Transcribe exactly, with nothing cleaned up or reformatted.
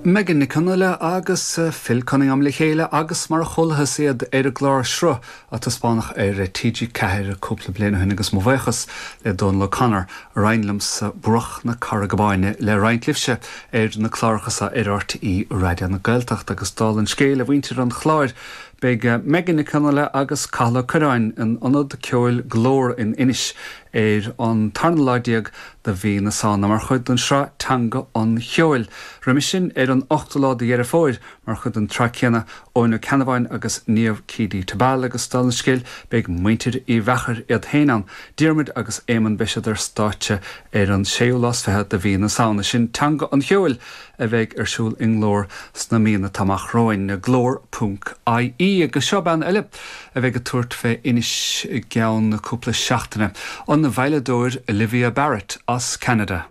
Megan Nic Fhionnghaile agus Phil Cunningham le chéile agus mar a chualathas iad ar an gclár Sruth a taispeánadh ar TG Ceathair cúpla bliain ó shin agus mo bhuíochas le Donal O'Connor a roinn liomsa Bruach na Carraige Báine le roinnt libhse ar na cláracha ar RTÉ Raidió na Gaeltachta agus dála an scéil a mhuintir an chláir Beidh Megan Nic Fhionnghaile agus Cathal Ó Curráin in ionad ceoil Glór in Inis ar an tarna lá déag de mhí na Samhna mar chuid den sraith Teanga an Cheoil. Roimhe sin ar an ochtú lá de Dheireadh Fómhair mar chuid den tsraith céanna Eoin Ó Ceannabháin agus Niamh Keady Tabal agus dála an scéil beidh muintir Uí Mheachair iad féin ann. Diarmuid agus Éamonn beidh siad ar stáitse ar an séú lá is fiche de mhí na Samhna sin Teanga an Cheoil a bheidh ar siúl i nGlór sna míonna atá amach romhainn glór ponc IE agus seo bean eile a bheidh ag tabhairt fé Inis i gceann cúpla seachtaine. An veidhleadóir Olivia Barrett as Canada.